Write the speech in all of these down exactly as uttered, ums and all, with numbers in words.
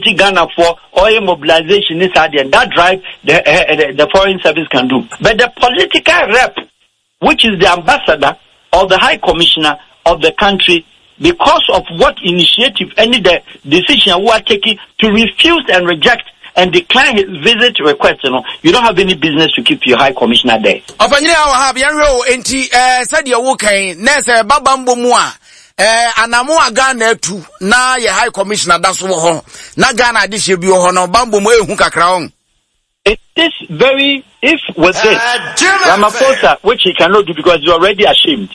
Ghana for oil mobilization is that drive the, uh, the, the foreign service can do. But the political rep, which is the ambassador or the high commissioner of the country, because of what initiative, any the decision we are taking to refuse and reject and decline his visit request, you know, you don't have any business to keep your high commissioner there. Ɔpanyini a Wahab, yɛnhwɛ o. Enti ɛɛ sɛdeɛ wokan na sɛ ɛba bambɔ mu a, ɛɛ anamo a Ghana atu na yɛ high commissioner da so wɔ hɔ na Ghana adehyɛ bi wɔ hɔ no, bambɔ mu ehu kakra wɔn. It is very, if with this, Ramaphosa, which he cannot do because he's already ashamed.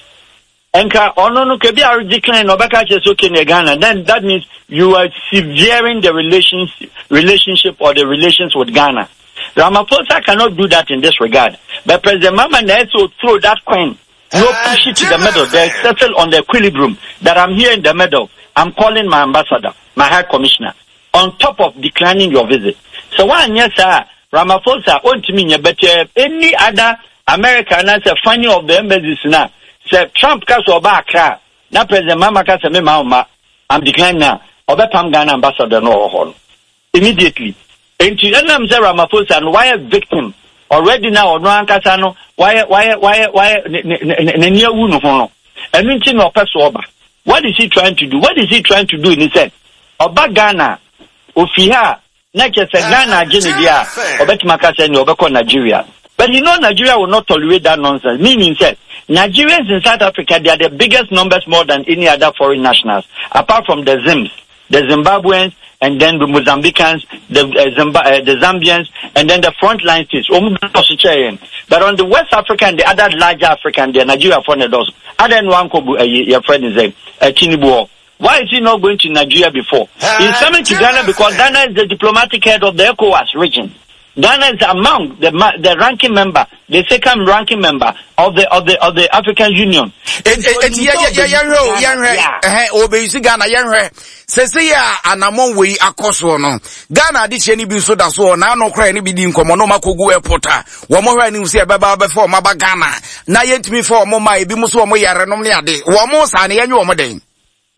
Nka ɔno no kebi a decline na ɔbɛka kyerɛ sɛ okay na Ghana, then that means you are severing the relations relationship or the relations with Ghana. Ramaphosa cannot do that in this regard. But President Mahama na also throw that coin, no, push it to the middle. They settle on the equilibrium that I'm here in the middle. I'm calling my ambassador, my high commissioner, on top of declining your visit. So one yes sir, Ramaphosa ontumi nyɛ, but uh, any other America na sɛ funny of the embassies na sɛ Trump ka sɛ ɔba Accra na President Mahama ka sɛ me ma ɔma, I'm declining now, ɔbɛpam Ghana ambassador no ɔwɔ hɔ no immediately. Nti ɛnam sɛ Ramaphosa no wayɛ victim already na ɔno ankasa no wayɛ wayɛ wayɛ wayɛ n'ani awu no ho no, ɛno nti na ɔpɛ so ɔba. What is he trying to do? What is he trying to do ni sɛ ɔba Ghana, ofi ha na kyerɛ sɛ Ghana agye ne deɛ a, ɔbɛtumi aka sɛ nea ɔbɛkɔ Nigeria. But you know Nigeria will not tolerate that nonsense, meaning sɛ Nigerians in South Africa, they are the biggest numbers, more than any other foreign nationals apart from the Zims, the Zimbabweans, and then the Mozambicans, the uh, Zimba, uh, the Zambians, and then the frontline states. But on the West Africa and the other larger African, the Nigeria for the other one, your friend is a Tinubu. Why is he not going to Nigeria before? He's coming to Ghana because Ghana is the diplomatic head of the ECOWAS region. Ghana is among the the ranking member, the second ranking member of the of the of the African Union. Eti yɛhwɛ o, yɛhwɛ ɛhɛn obeyisi Ghana, yɛhwɛ sese yɛ a anamɔ wei akɔ soɔ no, Ghana adehyɛ ni bi nso da so wɔ n'ano kora ne bi di nkɔmɔ na ɔmo akɔgu airport a wɔn hwɛ anim sɛ ɛbɛba abɛfa ɔmo aba Ghana na yɛntumi fa ɔmo ma ebi mo so ɔmo yare nom ne ade wɔn saa ne yɛnyɛ ɔmo den.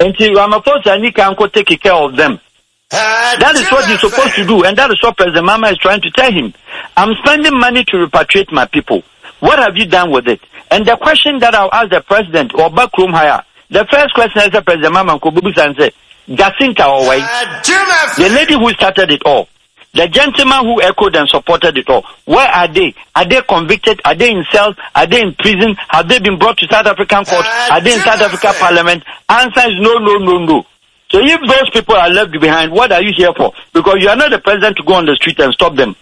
Nti Ramaphosa ni kan ko take care of them. That is what he's supposed to do, and that is what President Mahama is trying to tell him. I'm spending money to repatriate my people. What have you done with it? And the question that I'll ask the president or backroom hire, the first question is the President Mahama Kobubu say, Jacinta Owei, the lady who started it all, the gentleman who echoed and supported it all, where are they? Are they convicted? Are they in cells? Are they in prison? Have they been brought to South African court? Are they in South Africa parliament? Answer is no, no, no, no. So if those people are left behind, what are you here for? Because you are not the president to go on the street and stop them.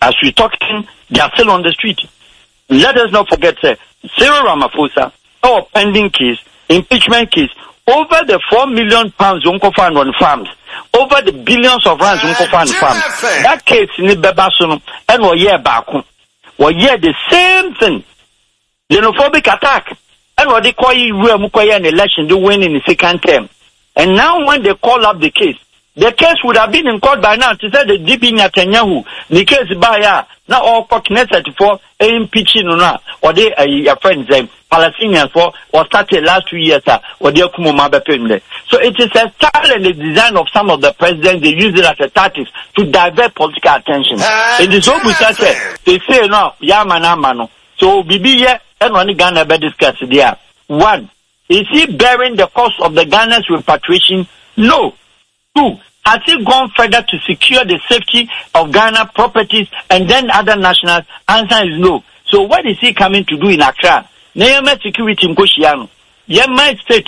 As we're talking, they are still on the street. Let us not forget, sir, Cyril Ramaphosa, our pending case, impeachment case, over the four million pounds Unko on farms, over the billions of rands Unko on farms. That case in the Bebasono, and we year back, we year the same thing. Xenophobic attack. And what they call you, an election, they win in the second term. And now when they call up the case, the case would have been in court by now. To say the D B Netanyahu, the case by ya, now all Knesset for impeaching no, or they uh, your friends, um, Palestinians for or started last two years, uh, or they kumoma. So it is a style and the design of some of the presidents. They use it as a tactics to divert political attention. It is so say they say no, ya man. So bibi ye and one Ghana be discuss there. One, is he bearing the cost of the Ghana's repatriation? No. Two, has he gone further to secure the safety of Ghana properties and then other nationals? Answer is no. So what is he coming to do in Accra? Neyama security nkoshiano. Yema state,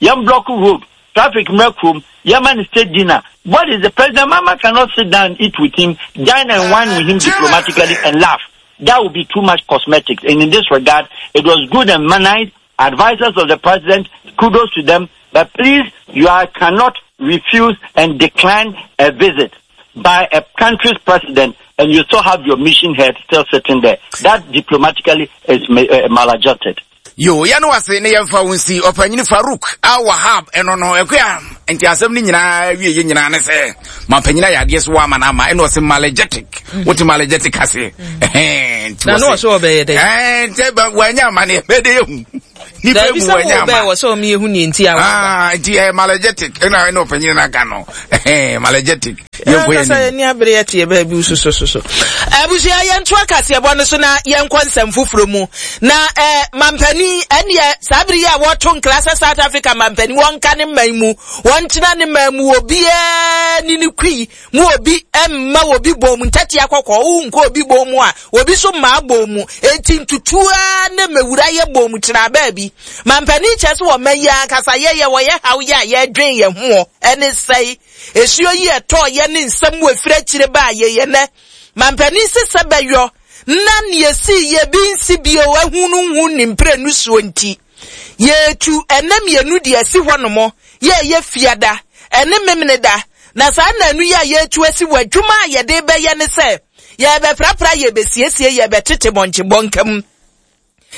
yem block road, traffic room, Yemen state dinner. What is the President Mahama cannot sit down and eat with him, dine and wine with him diplomatically and laugh. That would be too much cosmetics. And in this regard, it was good and managed. Advisors of the president, kudos to them. But please, you are, cannot refuse and decline a visit by a country's president and you still have your mission head still sitting there. That diplomatically is uh, maladjusted. Yo, yɛno ase ne yɛmfa wo nsi ɔpanyini Farouk Awahab. Ɛno no ɛkoa nti asɛm no nyinaa wie yɛ nyinaa ne sɛ mampanyini ayɛ adeɛ so wɔ ama no ama ɛna ɔse malegetic, wote malegetic ase? Ɛhɛn, nti na na wɔse- ɔsɛ ɔbɛyɛ dɛ Ɛɛ, nti ba- wanya amaneɛ bɛde yɛhu. Nipa mu wɔ nyama. Wɔ sɛ ɔmo yehu ne nti awo. Ah, nti ɛ malegetic ɛna ɛna ɔpanyin na ka no. Ɛhɛn malegetic. Yɛn kɔ yɛn nim. Ni abere yɛ te baabi so so so so. Abusua yɛn to akaseɛbɔ no so na yɛn kɔ nsɛm foforɔ mu. Na eh mampani ɛneɛ saa bere yi a wɔto nkra sɛ South Africa mampani wɔnka ne man mu. Wɔntena ne man mu obiara ni ne kui mu obi emma obi bom ntati akɔkɔ wo nko obi bom a obi so ma bom mu enti ntutua ne mewura ye bom tena baabi. Mampani kyerɛ sɛ wɔ man yi ankasa yɛyɛ wɔyɛ haw yɛ a yɛdwen yɛn ho ɛne sɛe esuo yi ɛtɔ yɛ ne nsɛm wɔ efiri akyire ba yɛyɛ nɛ. Mampani sesɛ bɛyɔ na ne esi yɛ bi nsi bio ehunu hu ne mprenu suo nti yɛtu ɛnɛ mmienu de asi hɔ nom yɛ yɛ fiada ɛne memene da na saa nanu yɛ a yɛtu asi wɔ adwuma a yɛde bɛyɛ ne sɛ yɛbɛprapra yɛbɛsiesie yɛbɛtete bɔnkyebɔ nkam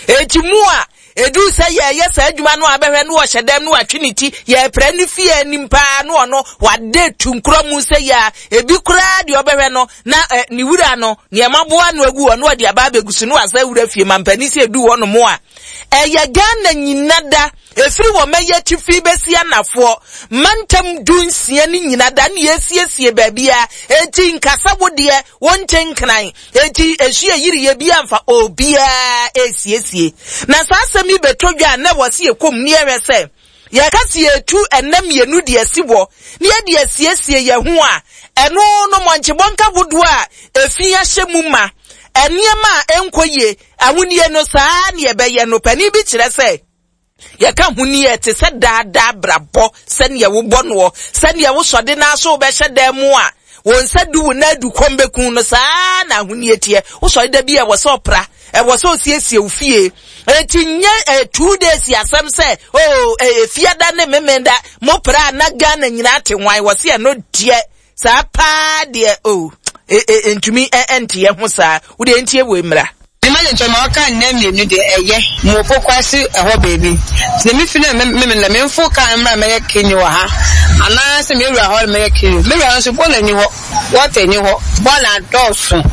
eti mu a edu sɛ yɛyɛ saa adwuma no abɛhwɛ no wɔhyɛ dɛm no watwe ne ti yɛprɛ ne fie anim paa no ɔno wade tu nkorɔ mu sɛ yɛ ebi koraa deɛ ɔbɛhwɛ no na eh, ne wura no nneɛma boa no agu hɔ no ɔde aba abɛgu so no wasa wura fie mampani sɛ edu hɔ nom a ɛyɛ Ghana nyina da efiri wɔ mɛyɛ tifi bɛsi anafoɔ mantam du nsia ne nyina da ne yɛsiesie baabi a eti nkasa wo deɛ wɔnkyɛ nkran eti esu eyiri yɛ bi amfa obiara esiesie na saa asɛm yi bɛtɔ dwa na wɔsi ekom ne yɛhwɛ sɛ yɛka si etu ɛnam mmienu deɛ si wɔ ne yɛde asiesie yɛn ho a ɛno no mɔnkyebɔ nka hodoɔ a efi ahyɛ mu ma nneɛma a ɛnkɔ yie ahonie no saa ne yɛbɛyɛ no panin bi kyerɛ sɛ yɛka huni te sɛ daadaa brabɔ sɛnea wobɔ noɔ sɛnea wosɔde n'aso wobɛhyɛ dan mu a wɔn nsa du wo na adu kɔm bɛku no saa na ahonie teɛ wosɔre da bi a ɛwɔ sɛ ɔpra ɛwɔ sɛ osiesie wo fie eti nye eh, two days asɛm sɛ oh eh, fiada ne memenda mo pra na Ghana nyinaa te nwan wɔ se ɛno deɛ saa paa deɛ oh ntumi ɛnteɛ ho saa wo deɛ ntie wɔ mmra. Imagine to ma ka nna mienu de eye mo pokwase eho baby nti me fi na me me na me mfo ka mra me ye kini wɔ ha ana se me wura hɔ me ye kini me wura nso bola ni hɔ water ni hɔ bola dɔso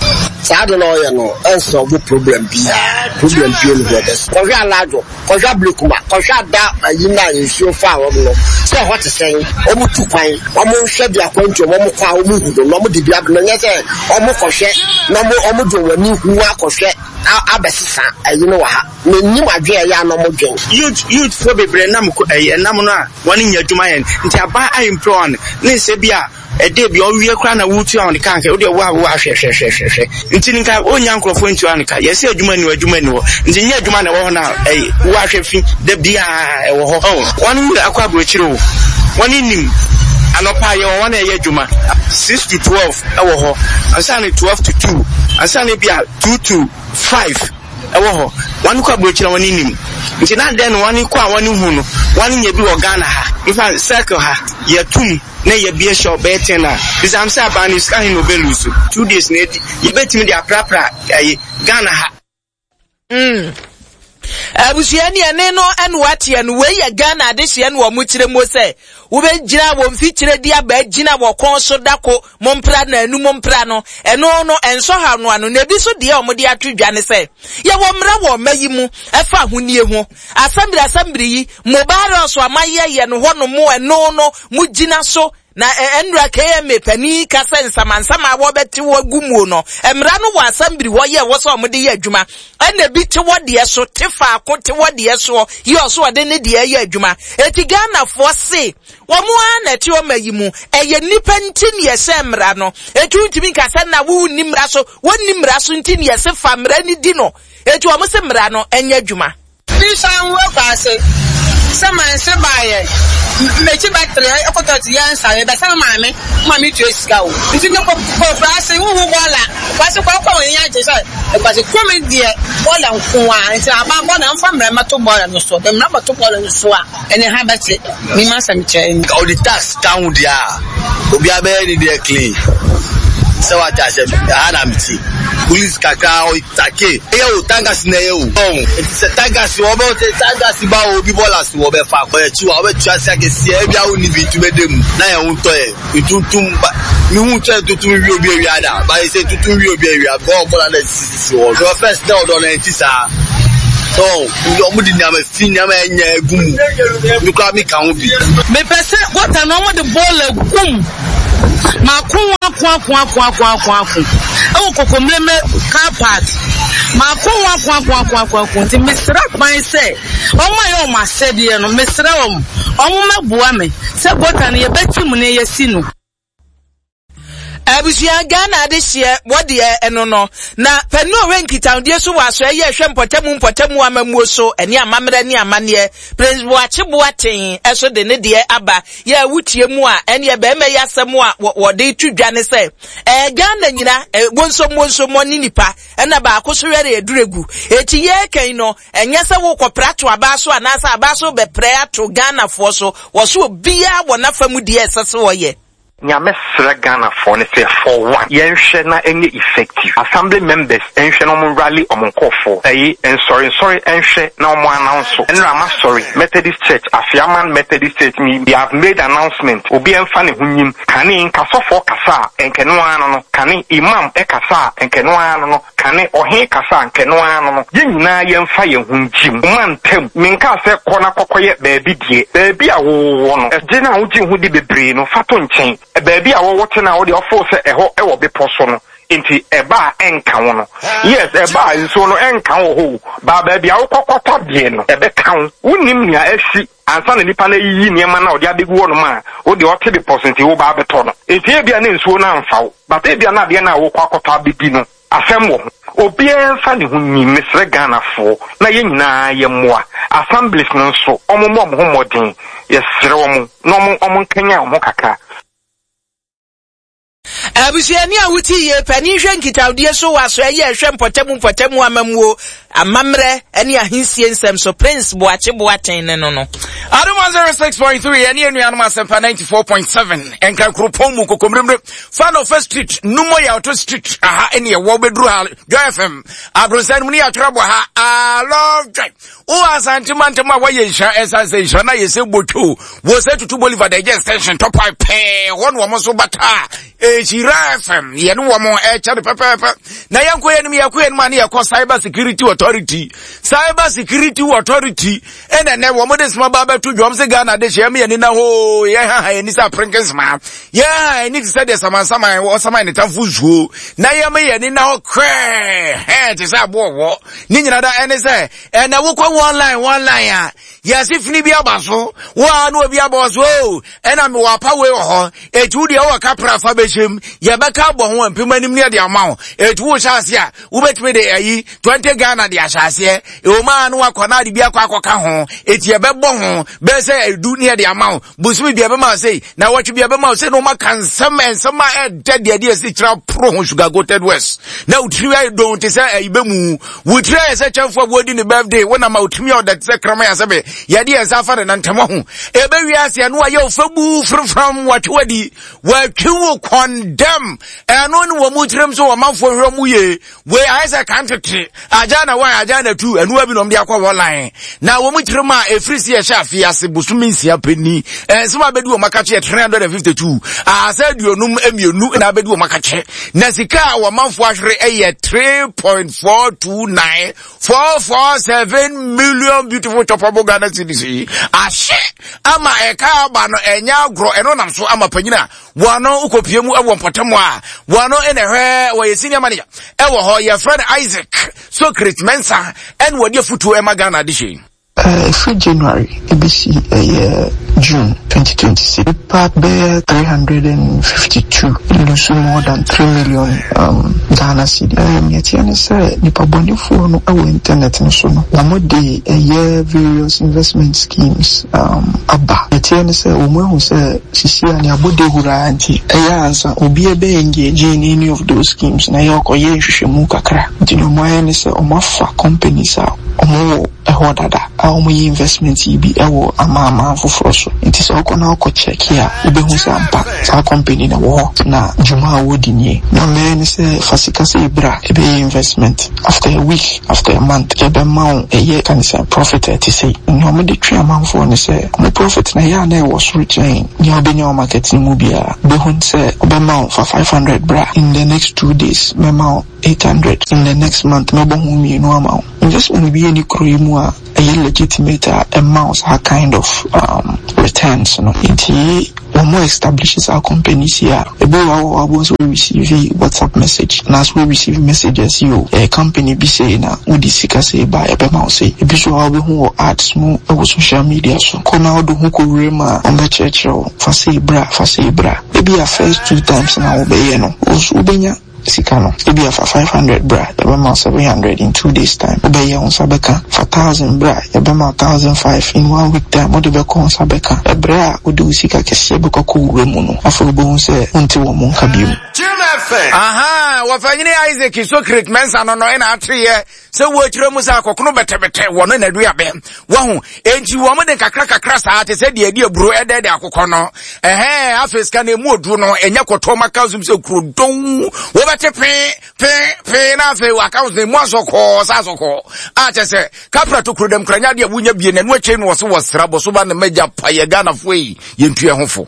saa de na ɔyɛ no ɛnso bo problem bia problem bia no hɔ bɛs kɔhwɛ alajo kɔhwɛ blekuma kɔhwɛ ada ayi na nsuo fa hɔ no sɛ hɔ te sɛn ɔmo tu kwan ɔmo nhwɛ de akwantu ɔmo kɔ a ɔmo hu no na ɔmo de bia no nyɛ sɛ ɔmo kɔhwɛ na ɔmo ɔmo de wɔn ani hu akɔhwɛ abɛsesa ayi no wɔ ha na nim adwe ɛyɛ anɔ mo dwen youth youth fo bebree nam ɛyɛ nam no a wɔne nya adwuma yɛn nti aba employ ne sɛ bi a ɛde bi ɔwie kora na wutu a ɔne kanka wode wo a wo ahwɛ hwɛ hwɛ hwɛ nti nka onya nkrɔfo ntu anka yɛsɛ adwuma ni adwuma ni hɔ nti nya adwuma na ɛwɔ hɔ na ɛyɛ wo ahwɛ fi da bia ɛwɔ hɔ wɔn wura akɔ aburokyire o wɔn nim anɔpa yɛ wɔn na ɛyɛ adwuma six to twelve ɛwɔ hɔ ansa ne twelve to two ansa ne bi a two to five ɛwɔ hɔ wɔn kɔ aburokyire wɔn nim nti na den wɔn kɔ a wɔn hu no wɔn nya bi wɔ Ghana ha nfa circle ha yɛtum na yɛ bie shop bɛyɛ ten a bisam sɛ aban ne sika hin na obelusu two days na edi yɛbɛtumi de aprapra ɛyi Ghana ha. Mm. Abusua ni ene no ene wateɛ no wei yɛ Ghana adehyeɛ no wɔ mo kyerɛ mu sɛ wobɛgyina wɔ mfikyire di aba gyina wɔ kɔn so dako mo mpra na anu mo mpra no ɛno no ɛnsɔ ha no ano na ebi so deɛ ɔmo de ato dwa ne sɛ yɛwɔ mmara wɔ ɔma yi mu ɛfa ahonie ho asɛmbiri asɛmbiri yi mobile so amayɛ yɛ no hɔ no mo ɛno no mo gyina so na ɛnura K M A pani ka sɛ nsamansama a wɔbɛte wɔ gu mu no mmara no wɔ asɛmbiri hɔ yɛ wɔ sɛ ɔmo de yɛ adwuma ɛna bi te wɔ deɛ so te faako te wɔ deɛ soɔ yɛ ɔso ɔde ne deɛ yɛ adwuma eti Ghanafoɔ se wɔn a na ɛte ɔma yi mu ɛyɛ nipa nti ne yɛhyɛ mmara no etu ntumi nka sɛ na wo ni mmara so wɔn ni mmara so nti ne yɛse fa mmara ni di no etu wɔn se mmara no ɛnyɛ adwuma. Bisa nwo kwase sɛ manse baayɛ mechi battery ekoto ti ya nsa be sɛ maame maame tu sika o nti no ko kwase wo hu bola kwase kwa kwa nya je sɛ kwase krom de bola nko a nti aba bola mfa mra mato bola no so be mra mato bola no so a ene ha bete mi ma sɛm kyɛ all the tax down there obi abe ni there clean sɛ wa ta sɛ ha na mti police kakra o take e o tangas na e o sɛ tangas wo be tangas ba obi bola so wo be fa ko e chi wa wo be tua sia ke sie e bia wo ni bi tu be dem na ye won to ye tuntun ba mi hu che tuntun wi obi ewia da ba se tuntun wi obi ewia go bola na sisi wo so first na odo na ti sa So ɔmo de nneɛma fi nneɛma ɛnyɛ egu mu. Mi kura mi ka ho bi. Mepɛ sɛ gɔta na ɔmo de bɔɔla gum. Mako ako ako ako ako ako ako. Ɛwɔ Kokomlemle car park. Mako ako ako ako ako ako. Nti mesrɛ kwan sɛ ɔmo ayɛ ɔmo asɛdeɛ no, mesrɛ wɔn. Ɔmo mɛboa me sɛ gɔta no yɛbɛti mu na yɛsi no. Abusua Ghana adehyeɛ wɔdeɛ ɛno no na pɛnu owe nkitahodie so wɔ asoɛ yɛ ɛhwɛ mpɔtamu mpɔtamu amammuo so ɛne amammerɛ ne amanneɛ Prince Boakye Boateng ɛso de ne deɛ aba yɛ awutie mu a ɛne bɛrima yi asɛm a wɔde to dwa ne sɛ ɛɛ Ghana nyina wonsom wonsom ne nipa ɛna baako so wɛre aduregu eti yɛ kan no ɛnyɛ sɛ wokɔpra to aba so anaasɛ aba so bɛprɛ ato Ghanafoɔ so wɔ so obiara wɔ n'afa mu deɛ ɛsɛ sɛ wɔyɛ. Nyame srɛ Ghanafoɔ ne sɛ for one yɛnhwɛ na ɛnyɛ effective assembly members ɛnhwɛ na ɔmo rally ɔmo nkɔɔfoɔ ɛyi nsɔre nsɔre ɛnhwɛ na ɔmo announce ɛnna ama sɔre Methodist Church Afiaman Methodist Church mi they have made announcement obi ɛnfa ne ho nyim kane nkasɔfoɔ kasa a nkɛnoa no no kane imam ɛkasa a nkɛnoa no no kane ɔhen kasa a nkɛnoa no no yɛn nyinaa yɛnfa yɛn ho nkyim ɔman ntam menka sɛ kɔ na kɔkɔyɛ baabi deɛ baabi a wowɔ no ɛgye na wogye ho di bebree no fa to nkyɛn baabi a wɔwɔ te na wode ɔfo sɛ ɛhɔ ɛwɔ bepɔ so no nti ɛba a ɛnka wo no yes ɛba a nsuo no ɛnka wo hɔ ba baabi a wokɔkɔtɔ deɛ no ɛbɛka wo wonim nea asi ansa na nipa no ayiyi nneɛma na ɔde abɛgu hɔ nom a wode ɔte bepɔ so nti woba abɛtɔ no nti ebia ne nsuo no amfa wo but ebia na adeɛ no a wokɔ akɔtɔ abɛdi no asɛm wɔ ho obiara mfa ne ho nyim mesrɛ Ghanafoɔ na yɛn nyinaa yɛ mmoa assemblies no nso ɔmo mmɔ ɔmo ho mmɔden yɛsrɛ wɔn na ɔmo ɔmo nkanya ɔmo kakra. Abusuani a wuti yie panin hwɛ nkitahodie so wɔ aso ɛyɛ ɛhwɛ mpɔtamu mpɔtamu amamuo amammerɛ ɛne ahensie nsɛm so Prince Boakye Boateng ne no no. Adom one oh six point three ɛne anuanom Asɛmpa ninety-four point seven ɛnka kuropɔn mu kokomremre Fanofa Street Numo Yawto Street aha ɛne ɛwɔ bɛduru ha Joy F M abrɔnsan mu ne yɛatwerɛ bɔ ha I love Joy wo Asante mantam a wɔyɛ nhyira ɛsan sɛ nhyira na yɛsɛ botwo wɔ sɛ tutu Bolivar da ɛgye extension top pipe pɛɛ hɔ ne wɔn so bata Nhyira F M yɛne wɔn ɛkyɛ no pɛpɛɛpɛ na yɛnkɔ yɛnim yɛkɔ yɛnim a ne yɛkɔ Cyber Security Authority Cyber Security Authority ɛna nɛ wɔn de soma ba bɛto dwom sɛ Ghana de hyɛ yɛn na hoo yɛn ha ha yɛn ni sɛ aprenke nsoma yɛn ha yɛn ni te sɛ deɛ samansaman ɔsaman ne tamfo nsuo na yɛn yɛn ni na hɔ krɛɛ hɛn te sɛ aboɔ wɔ ne nyinaa da ɛne sɛ ɛna wokɔ one line one line a yɛsi fini bi aba so wo a na obi aba so o ɛna mewɔ apa wei wɔ hɔ etu deɛ wɔ kapra fa bɛhyɛm yɛbɛka abɔ ho mpem anim ne ɛde ama wo etu wo hyɛ ase a wobɛtumi de ayi twenty Ghana de ahyɛ aseɛ ewoma no wakɔ na ade bi akɔ akɔka ho eti yɛbɛbɔ ho bɛyɛ sɛ edu ne ɛde ama wo bosomi bi ɛbɛma sei na wɔtwe bi ɛbɛma sei na wɔma ka nsɛm nsɛm a ɛdɛ deɛ deɛ esi kyerɛ pro ho sugar coated west na wotiri ayɛ don te sɛ ɛyi bɛ mu wotiri ayɛ sɛ kyɛnfo a wɔdi ne birthday wɔnam a wotiri ayɛ ɔda te sɛ kraman asɛbɛ yɛde yɛn nsa afa ne nantam ho ebe wiase ɛno ayɛ ofabu frafram watwe wadi watwe wo kɔndɛm ɛno ne wɔn mu tirim so wɔn manfoɔ hwɛ mu yie wei ayɛ sɛ kan tete agya na one agya na two ɛno abi na wɔn de akɔ wɔn line na wɔn mu tirim a efiri si ɛhyɛ afi ase bosomi nsia panyin ɛnsɛm abɛdi wɔn akakye yɛ three hundred and fifty two ahasa aduonum mmienu na abɛdi wɔn akakye na sika a wɔn manfoɔ ahwere ɛyɛ three point four two nine four four seven million beautiful chopable Ghana cedis ahye ama ɛka aba no ɛnyɛ agorɔ ɛno nam so ama panyin a wɔn ukopie mu ɛwɔ mpɔtam a wɔn ɛna ɛhwɛ wɔyɛ senior manager ɛwɔ hɔ yɛfrɛ no Isaac Socrates Mensah ɛna wɔde afutuo ɛma Ghana de hyɛ. Every January, A B C, uh, year June twenty twenty-six, paper bear three hundred fifty-two, lose more than three million um, Ghana cedi. Um, yet, you say, nipa bonifuo no awo internet no so no. Wɔn de ɛyɛ various investment schemes um aba. Yet, you say, wɔn ehu sɛ sisi a ne abode hura nti ɛyɛ ansa obi ebe engage in any of those schemes na yɛ ɔkɔyɛ nhwehwɛmu kakra. Nti na wɔn ayɛ ne sɛ wɔn afa companies a wɔn wɔ ɛhɔ dada. a wɔyɛ investment yi bi wɔ amanaman foforɔ so. Nti sɛ wokɔ na wokɔ check a, wobɛhu sɛ ampa saa company no wɔ hɔ na dwuma a wɔdi nie. Na ɔmɛyɛ ne sɛ fa sika sɛ bra ɛbɛyɛ investment. After a week, after a month, yɛbɛma wo ɛyɛ ka ne sɛ profit a ɛte sei. Nea wɔde twe amanfoɔ ne sɛ ɔmo profit na ɛyɛ a na ɛwɔ soro kyɛn nea wobɛnya wɔ market no mu biara. Wobɛhu sɛ ɔbɛma wo fa five hundred bra in the next two days mɛma wo eight hundred in the next month mɛbɔ ho mmienu ama wo. Investment bi ɛni kuro yi mu a ɛyɛ legitimate a ɛma wo saa kind of um, returns no. Nti wɔn mo establish saa companies yi a, ebi wɔ hɔ a wɔabɔ nso receive WhatsApp message anaasɛ wɔ receive messages yi o, ɛyɛ company bi sei na wode sika sei ba ɛbɛma wo sei. Ebi nso wɔ hɔ a wobɛhu wɔ ads mu ɛwɔ social media so. Kɔ na wode ho kɔwura mu a, wɔbɛkyerɛkyerɛ wo fa sei bra, fa sei bra. Ebi a first two times na wobɛyɛ no, wo nso wobɛnya sika no. Ebi a fa five hundred bra, yɛbɛma wo seven hundred in two days time. Wobɛyɛ wo nsa bɛka. Fa thousand bra, yɛbɛma wo thousand five in one week time. Wode bɛkɔ wo nsa bɛka. Ɛberɛ a wode wo sika kɛseɛ bɛkɔ kɔwura mu no, afei wobɛhu sɛ wonte wɔn mo nka bio. Aha, wɔfanyini Isaac Socrates Mensah no no ɛna ateyɛ sɛ wɔakyerɛ mu sɛ akɔkono bɛtɛbɛtɛ wɔ no n'aduabɛ wahu enti wɔn de kakra kakra saa te sɛ deɛ ɛde aburo ɛdɛɛdɛ akokɔ no ɛhɛn afei sika no emu oduro no ɛnyɛ kɔtɔ ma ka zum sɛ kuro don wɔbɛte pee pee pee na afei wɔ account no emu asɔkɔɔ sɛ asɔkɔɔ a kyɛ sɛ kapra to kuro dɛm kura nya deɛ wonya bie na ɛno akyire no wɔ so wɔ sra bɔ so ba ne mɛgya pa yɛ Ghanafoɔ yi yɛntua ho fo.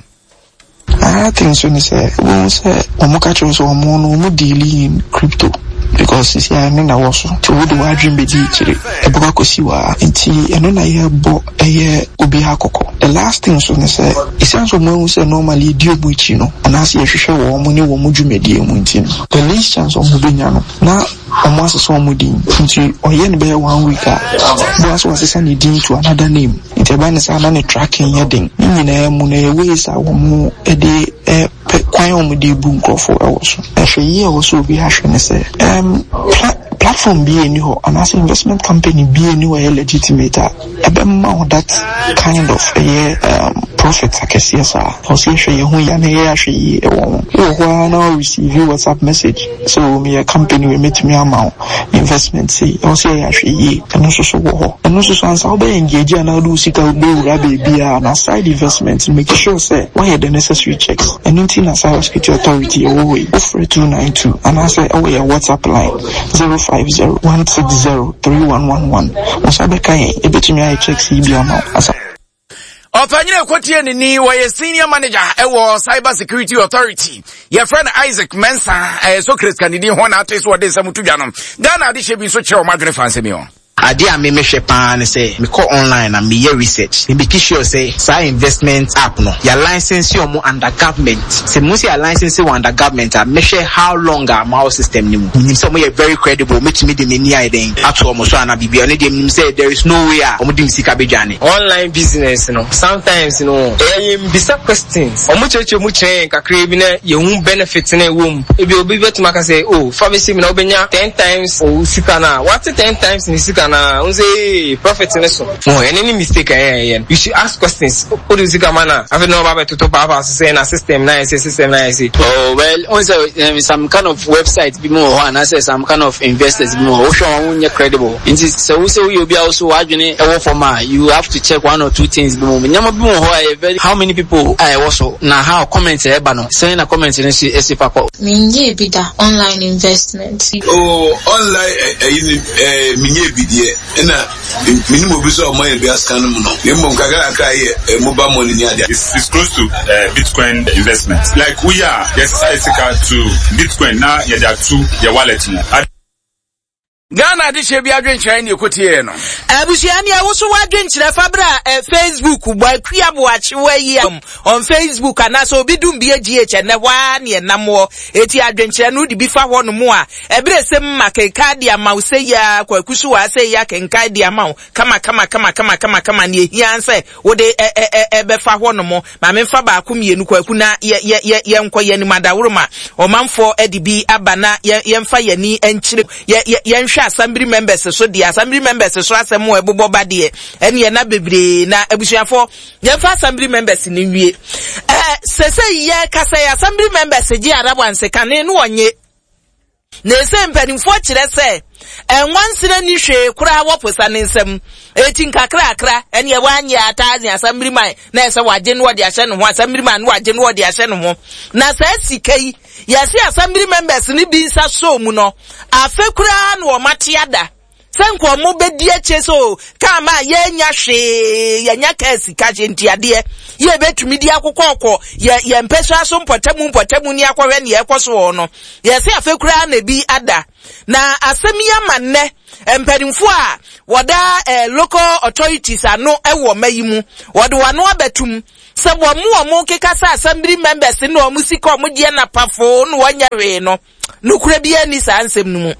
Another thing so ne sɛ wobɛhu sɛ ɔmo ka kyerɛ sɛ ɔmo no ɔmo deal in crypto because sisi a ɛno na ɛwɔ so nti wode w'adwene bɛdi akyire ɛbɛkɔ akɔsi wɔ a nti ɛno na yɛbɔ ɛyɛ obiara kɔkɔ. The last thing so ne sɛ ɛsiane sɛ ɔmo ahu sɛ normally yɛdi ɔmo akyi no anaasɛ yɛhwehwɛ wɔn mo ne wɔn mo dwumadie mu nti no, the least chance ɔmo bɛnya no na ɔmo asesa ɔmo din. Nti ɔyɛ no bɛyɛ one week a boa so wasesa ne din to another name. Nti ɛba ne saa na ne tracking yɛ den. Ne nyinaa mu no ɛyɛ ways a wɔn de ɛpɛ kwan a wɔn de bu nkurɔfoɔ ɛwɔ so. Ɛhwɛ yie a ɛwɔ so obi ahwɛ ne sɛ ɛm pla platform bi ɛni hɔ anaasɛ investment company bi ɛni hɔ ɛyɛ legitimate a ɛbɛma wo that kind of ɛyɛ um, profit akɛseɛ saa. Ɔsɛ yɛhwɛ yɛn ho yie na yɛyɛ ahwɛ yie ɛwɔ ho. Wɔ hɔ ara na wo receive WhatsApp message sɛ o meyɛ company wei mɛtumi ama wo investment sei. Ɛwɔ sɛ yɛyɛ ahwɛ yie. Ɛno nso so wɔ hɔ. Ɛno nso so ansa wobɛyɛ engage anaa wode wo sika wobɛwura baabi a na side investment make sure sɛ woayɛ the necessary checks. Ɛno nti na Cyber Security Authority ɛwɔ hɔ yi. Wofrɛ two nine two anaasɛ ɛwɔ yɛ WhatsApp line zero five zero one six zero three one one one. Wo nsa bɛka yɛn, yɛbɛtumi ayɛ checks yi bi ama wo. Asa ɔpanyini ekotie ne ni wɔyɛ senior manager ɛwɔ Cyber Security Authority, yɛfrɛ no Isaac Mensah. Ɛyɛ Socrates kanidi ho na ate so wɔde nsɛm to dwa no. Ghana adehyɛ bi nso kyerɛ wɔn adwene fa nsɛm yi ho. Adeɛ a me mehwɛ paa ne sɛ mekɔ online na meyɛ research, me make sure sɛ saa investment app no yɛ license ɔmo under government. Sɛ mo sɛ yɛ license wɔ under government a, mehwɛ how long a ma wɔ system ne mu, menim sɛ ɔmo yɛ very credible, metumi de m'ani ayɛ dɛn ato ɔmo so ana biribi ɔno deɛ menim sɛ there is no way a ɔmo de me sika bɛdwane. Online business no, sometimes no, ɛyɛ yɛn bisa questions, ɔmo kyerɛkyerɛ mu kyerɛ yɛn kakra bi na yɛhu benefit na ɛwɔ mu. Ebi obi bɛtumi aka sɛ, oh, fa bɛhyɛ mu na wobɛnya ten times o sika na wate ten times ne sika na n sɛ ee profit ne so oh, ɛne ne mistake a ɛyɛ yɛn. You should ask questions. O de sika ma na afei na ɔba bɛtoto paapaa so sɛ na system na yɛ sɛ system na yɛ sɛ. Oh well, on sɛ um, some kind of website bi mu wɔ hɔ anaasɛ some kind of investors bi mu wɔ hɔ, wohwɛ wɔn nyɛ credible. Nti sɛ wo sɛ woyɛ obi a wo so w'adwene ɛwɔ fam a, you have to check one or two things bi mu. Nneɛma bi mu wɔ hɔ a ɛyɛ very, how many people a ɛwɔ so na how comment a ɛba no sɛn na comment no si ɛsi fa kɔ. Menyɛɛ bi da, online investment. Oh, online ɛyi ni ɛɛ menyɛ bi deɛ, ɛna menim obi sɛ ɔmo ayɛ bi asika no mu no, na mmom kakra kakra yɛ mobile money ni adeɛ. It's, it's close to uh, Bitcoin investment. Like we are, yes, sika to Bitcoin na yɛde ato yɛ wallet mu. Ghana adehyɛ bi adwenkyerɛ ne ɛkɔtiee no. Abusua ni ɛwo so wadwenkyerɛ fa bra eh, Facebook bɔ Akua Boakye wayi am on Facebook anaasɛ obi dum bi G H ɛnɛ hɔ ara ne ɛnam hɔ. Eti adwenkyerɛ no wode bi fa hɔ no mu a ɛberɛ sɛ ma kenkan de ama wo sɛ yi a Kwaku so wɔ asɛ yi a kenkan de ama wo kama kama kama kama kama kama ne ehia sɛ wode ɛ ɛ ɛ ɛbɛfa hɔ no mu. Maame mfa baako mmienu Kwaku na yɛ yɛ yɛ yɛnkɔ yɛn anim adaworo ma ɔmanfoɔ ɛde bi aba na yɛ yɛmfa yɛn ani nkyerɛ yɛ yɛ yɛnhwɛ assembly members so deɛ assembly members so asɛm a ɛbobɔ ba deɛ ɛne ɛna bebree na abusuafoɔ yɛmfa assembly members ne nwie. Ɛɛ sɛsɛ yɛ kasa yɛ assembly members gye arawanse kane no wɔnye. Na ɛsɛ mpanimfoɔ kyerɛ sɛ ɛnwansena ni hwee koraa wɔ posa ne nsam. Eti nkakrakra ɛne ɛwɔ anyɛ ataaze assembly man na ɛsɛ wagye no wɔde ahyɛ ne ho, assembly man no wagye no wɔde ahyɛ ne ho. Na saa sika yi yɛse assembly members ne bi nsa so mu no, afe koraa na wɔn ate ada sɛ nka ɔmo bɛdi akyire so kaa ma yɛnya hwee, yɛnya kaa sika hyɛ ntiadeɛ yɛ bɛtumi di akokɔɔkɔ yɛ yɛn mpɛsua so mpɔtamu mpɔtamu ni akɔhwɛ nea ɛkɔ so wɔ no. Yɛse afe koraa na bi ada. Na asɛm yi ama nnɛ mpanimfoɔ a wɔda eh, local authorities ano ɛwɔ mma yi mu, wɔde wɔn ano abɛtum sɛ wɔn mu wɔn keka sɛ assembly members ne wɔn sika wɔn gyeɛ na pafo na wɔnyɛ hwee no, nokura biara ni saa nsɛm no mu.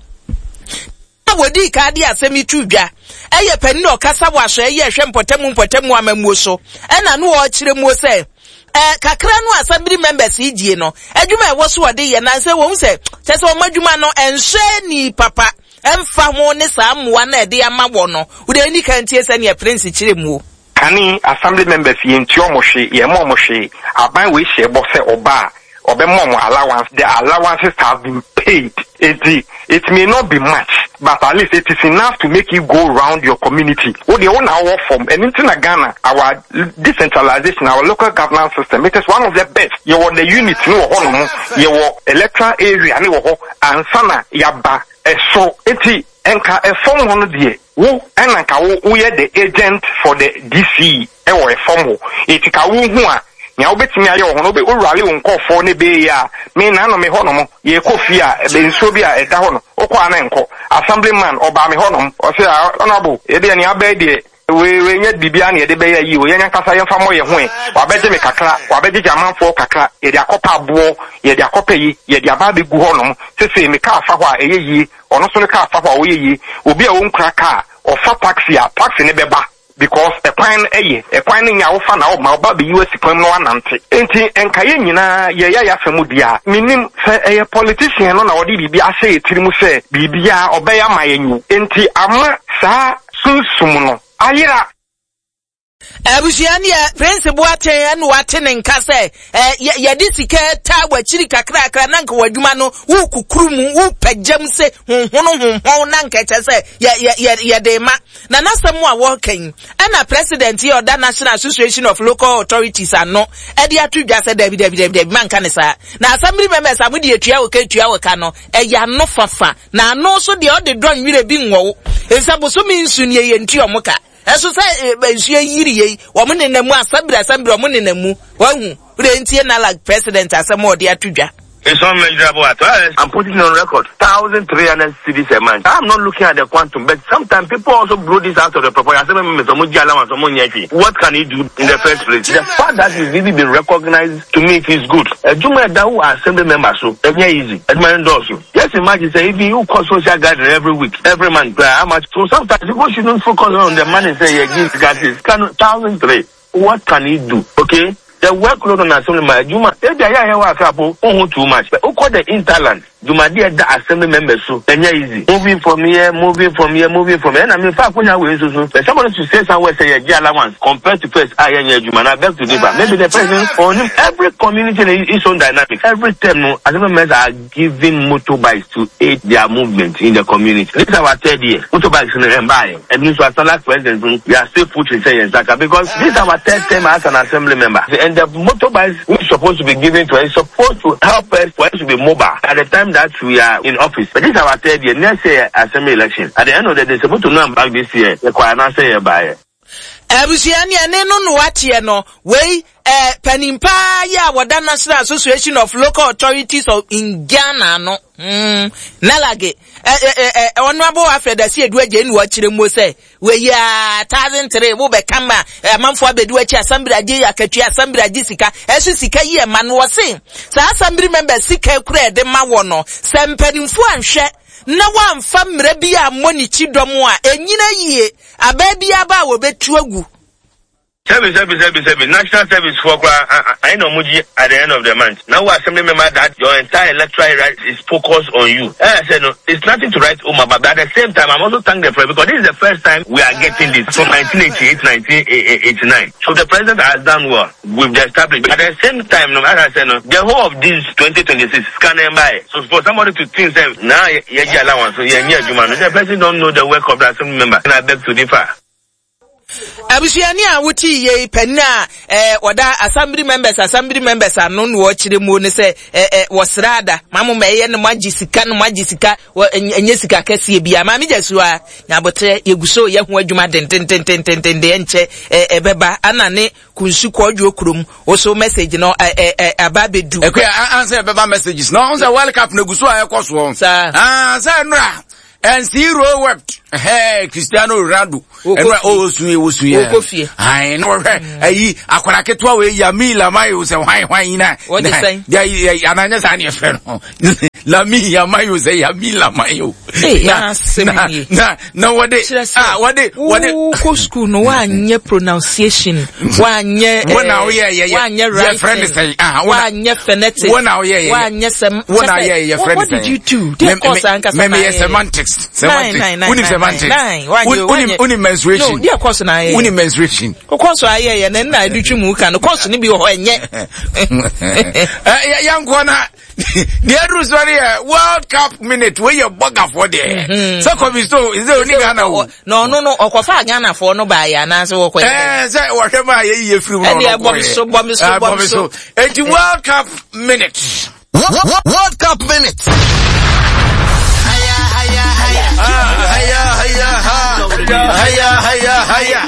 Wɔdi ka de asɛm yi to dwa ɛyɛ panin a ɔkasa wɔ aso ɛyɛ ɛhwɛ mpɔtamu mpɔtamu amammuo so, ɛna no ɔkyerɛ mu sɛ ɛɛ kakra no assembly members yi die no, adwuma ɛwɔ so wɔde yɛ nansɛ wɔn sɛ kyɛ sɛ wɔn adwuma no ɛnhyɛ ni papa ɛmfa ho ne saa mmoa na ɛde ama wɔ no. Wode ani kan tie sɛ nea Prince kyerɛ mu. Kane assembly members yɛntua ɔmo hwee, yɛmma ɔmo hwee. Aban wei hyɛ bɔ sɛ ɔba a ɔbɛma ɔmo allowance. The allowances have been paid. Eti it may not be much, but at least it is enough to make you go round your community. Wo deɛ wo na wɔ fam. Ɛno nti na Ghana, our decentralization, our local governance system, it is one of the best. Yɛwɔ the unit ne wɔ hɔnom, yɛwɔ electoral area ne wɔ hɔ ansa na yaba ɛso. Eti nka ɛfam hɔ no deɛ, wo ɛna nka wo woyɛ the agent for the D C ɛwɔ ɛfam hɔ. Eti ka wo hu a nea wobɛtumi ayɛ wɔ hɔ no, wowurale wo nkɔɔfoɔ ne bɛyɛ a me na no me hɔ nom yɛkɔ fie a ɛbɛ nsuo bi a ɛda hɔ no, wokɔ a na nkɔ. Assemblyman ɔbaa me hɔ nom, ɔsɛ honorable, yɛdeɛ nea abɛɛ deɛ wei wei nyɛ biribiara na yɛde bɛyɛ yi o, yɛn ankasa yɛmfa mmɔ yɛn ho ɛ. Wabɛgye me kakra, wabɛgyegye amanfoɔ kakra, yɛde akɔpɛ aboɔ, yɛde akɔpɛ yi, yɛde aba abɛgu hɔ nom. Sese me kaa fa hɔ a ɛyɛ yie, ɔno nso ne kaa fa hɔ a ɔyɛ yie. Obi a ɔnkura kaa ɔfa taxi a, taxi ne bɛba because ɛkwan no ɛyɛ ɛkwan no nya wofa na ɔma ɔba bɛyi wasi kwan mu na wanante. Nti nka yɛn nyinaa yɛyɛ yɛ afɛ mu di a, menim sɛ ɛyɛ politician no na ɔde biribi ahyɛ yɛ tiri mu sɛ biribiara ɔbɛyɛ ama yɛn o, nti ama saa sunsum no ayera. Abusua neɛ Prince Boateng ɛna wate ne nka sɛ ɛ yɛde sika taa w'akyiri kakrakra na nka w'adwuma no wokukuru mu wopagya mu sɛ honhono honhɔn na nka kyɛ sɛ yɛ yɛ yɛ yɛde ma. Na n'asɛm a wɔreka yi, ɛna president yi ɔda National Association of Local Authorities ano ɛde ato dwa sɛ dabi dabi dabi dabi, manka ne saa. Na assembly members a mode etua wɔ ka etua wɔ ka no ɛyɛ ano fafa na ano nso deɛ ɔde dɔ nwere bi nwɔwo efisɛ bosome nsu nie yɛ ntua ɔmo ka. Ɛso sɛ nsuo yiri yei wɔn nenam mu asɛmbere asɛmbere wɔn nenam mu wɔn hu ntie NALAG president asɛm a ɔde ato dwa. It's unmeasurable at all. I'm putting it on record. Thousand three hundred cedis a month. I'm not looking at the quantum, but sometimes people also blow this out of the proportion. What can he do in the first place? The fact that he's really been recognized, to me, it is good. Adwuma assembly member so, easy. Just imagine, say, if you call social gathering every week, every month, how much? So sometimes people shouldn't focus on the money. Say, yeah, give gases. Thousand three. What can he do? Okay. The workload on assembly man, Juma, eh, too much. But who the interland? Juma, dear, the assembly members so, and yeah, easy. Moving from here, moving from here, moving from here. And I mean, fact, when you so, but somebody should say somewhere, say, yeah, allowance compared to first, I yeah, Juma, I beg to differ. Maybe the president on him, every community in its own dynamic. Every term, no, assembly members are giving motorbikes to aid their movement in the community. This is our third year. Motorbikes in the empire. And so, as a president, we are still putting say because this is our third term as an assembly member. And the motorbikes which is supposed to be given to us is supposed to help us for us to be mobile at the time that we are in office. But this is our third year. Next year, assembly election. At the end of the day, they're supposed to know back this year. The Abusua ne ɛne no no wateɛ no wei eh, panimpa yi a wɔda National Association of Local Authorities of in Ghana no mm, NALAG eh, eh, eh, Honorable Alfred Asiedu Adjei ne wɔkyerɛ mu sɛ wei a thousand three wo bɛka ma amanfoɔ abɛdi w'akyi assembly agye akatua assembly agye sika ɛso sika yi ɛma no wɔse saa assembly member sika kura ɛde ma wɔ no sɛ mpanimfoɔ anhwɛ na wɔamfa mmerɛ bi a mmɔ ne kyi dɔm a ɛnyina yie abaa bi aba a wɔbɛtu agu. Service, service, service, service. National service for I know Muji at the end of the month. Now, assembly member that your entire electoral right is focused on you. I said no, it's nothing to write home about. But at the same time, I'm also thank the president because this is the first time we are getting this from nineteen eighty-eight, nineteen eighty-nine. So the president has done well with the establishment. At the same time, no, as I said, no, the whole of this twenty twenty-six scanning by. So for somebody to think that now, yeah, allowance, so yeah, yeah, the president don't know the work of the assembly member. And I beg to differ. Abusuani a wuti ye penna eh oda assembly members assembly members ano no wo kire mu ne se eh eh wosrada mamu meye ne magye sika no magye sika enye sika kese bia ma mejesu a nyabotre yeguso ye ho adwuma dententententen de enche eh ebeba ana ne kunsu kwadwo krom wo so message no eh eh aba bedu ekwa answer ebeba messages no on say World Cup na guso a ekoso ah say nra and zero wept. Hey, Cristiano Ronaldo. And oh, sweet, oh, sweet. I know. Hey, I could get away. Yami Lamayo say, why, why, na? What you say? Yeah, yeah, and I just any friend. Lami Yamayo say, Yami Lamayo. Hey, na, na, na, what they? Ah, what they? What they? Ko school no one pronunciation, one yeah, one now, yeah, yeah, one yeah, right. Friend say, ah, one yeah, phonetic, one now, yeah, yeah, one yeah, sem. One now, yeah, yeah, friend. What did you do? Me semantics. Semantics. Semantics. Uni uni menstruation. No, dear course na. Uni menstruation. O course aye ye na na adutwi mu ka no course ni bi ho enye. Eh yanko na the other story World Cup minute we your bugger for there. So come so is there only Ghana wo. No no no okofa Ghana for no ba ya na so wo kwa. Eh say wo hwe ma ye ye free mu no. Eh bomb so bomb so bomb so. Enti World Cup minute. World Cup minute. Haya haya haya haya haya haya haya